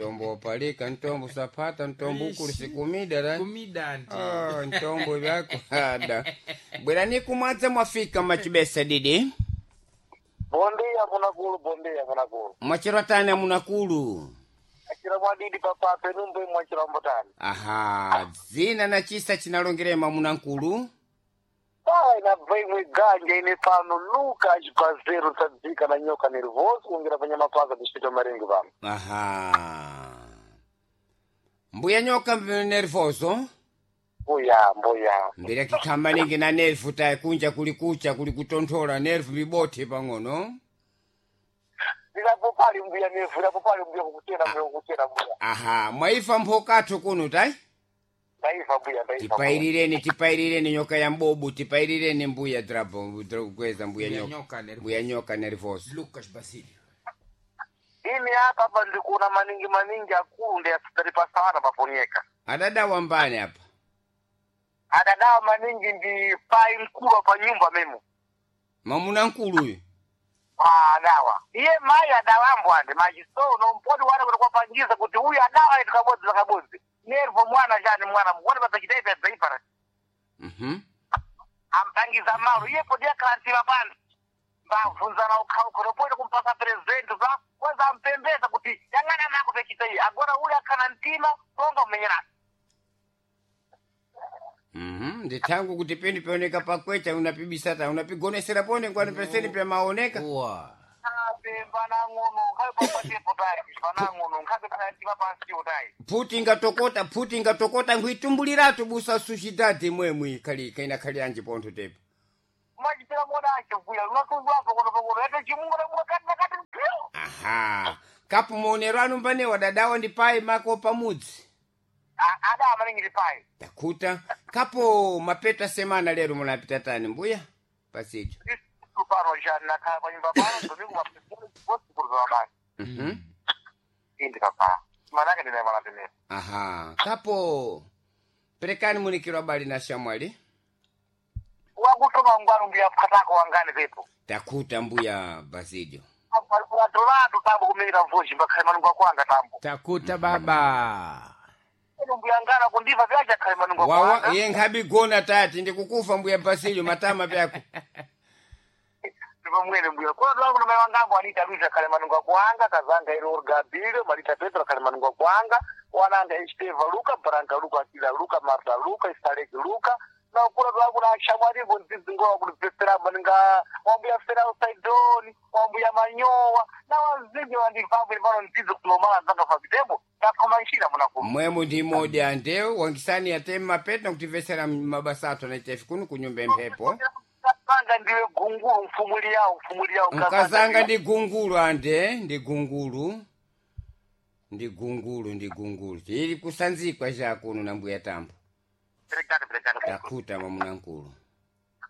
Ntombo wapalika, ntombo sapata, ntombo ukulu sikumida ra. Kumida nti. Oh, ntombo vyako ada. Bwerani kumwadza mwafika machibesa didi. Bondia munakulu, bondia munakulu. Mwachero tani amunakulu. Achira mwadidi papa penumbe mwachira mbotani. Aha, zina na chisa chinalongerema munankulu. Pai na imwe ganja ine pano Luka achipazero tsadzika na nyoka nervoso kuongera panyama paka tichipita marengi pano. Aha. Mbuya nyoka nervoso. Mbuya, mbuya. Mbira kikhamba ningi na nervu tayi kunja kuli kucha kuli kutonthola nervu mibothi pang'ono. Ilapo pali mbuya nevu, ilapo pali mbuya kukuchera mbuya kukuchera mbuya. Aha, mwaifa mphokathu kuno tayi? Ndaifa mbuya, ndaifa. mbuya. Tipairireni, tipairireni nyoka ya mbobu, tipairireni mbuya drapo, kweza mbuya Mbuya nyoka. nyoka nervoso. Mbuya nyoka nervoso. Lucas Basilio. Ini hapa hapa ndikuona maningi maningi akulu ndi asitari pasana paponyeka. Adada wambani apa. Adadawa maningi ndi pai mkulu pa nyumba memo. Mamuna nkulu uyu. Ah, adawa. Iye mai adawambo ande machisono mpodi wane kuti kwapangiza kuti uyu adawa itu kabodzi lakabodzi. Nervo mwana chani mwana muone padzachitaipa dzaipara. Mhm. Ampangiza malo iye podi akhalantima pansi. Mbabvunzana ukhaukholo podi kumpasa president za kwanza ampembeza kuti yang'ana mako pechita iye. Agora ule akhana mtima tonga umenyerana. Mhm, ndithangu kuti pindi pioneka pakwecha unapibisata unapigonesera pone kwani peseni pyamaoneka. Uwa. Panang'ono nkhabe papatepo tayi panang'ono nkhabe panantima pansiwo tayi. Phuti ingatokota, phuti ingatokota nkhuitumbuliratu busa suchidadi mwemwe khali kaina khali anji pontho tepo. Machipira mona achivuya lunatunzwapo kono pakono yato chimungu namuka kati nakati mpyo. Aha. Kapu maonero anu mbanewa dadawa ndi pai mako pamudzi. Ada maningi ndi pai. Takuta kapo mapeta semana lero munapita tani mbuya pasicho. Pano jani nakhala panyumba pano domingo mapesikuruza mabasi. Mhm. Indi papa. Manake ndinayimana tenera. Aha. Kapo perekani munikiro abali na shamwali. Wakutoma ngwanu mbuya katako wangani pepo. Takuta mbuya Basilio. Atolatu tambo kumenyera mvuji mbakhale manungu akwanga tambo. Takuta baba. Eno mbuya ngana kundiva vyacha khale manungu Wawa akwanga. ye nkhabigona tati ndikukufa mbuya Basilio matama pyako. Ndipo mwene mbuya. Kwa lwangu na mai wangangu anita Luisa khale manungu akwanga kazanga ilo Orgabile Marita Petro khale manungu akwanga wananga Esteva Luka Branca Luka Akila Luka Marta Luka Istaleki Luka na ukula lwangu na shamwalivo nzizingowa kulipesera maninga wambuya fera usaidoni wambuya manyowa na wazinji wandivambo ilipano nzizi kulomala nzanga fabitebo takhoma nshina munakumu Mwemu ndi modi andeu wangisani ateme mapeta nakutivesera mabasa athu anaitefi kuno kunyumba emphepo. Kazanga ndiwe gungulu mfumuli yawo mfumuli yawo Mkazanga ndi gungulu ande ndi gungulu. Ndi gungulu ndi gungulu. Tili kusanzikwa cha kuno na mbuya tambo. Perekani perekani. Takuta mamuna nkulu.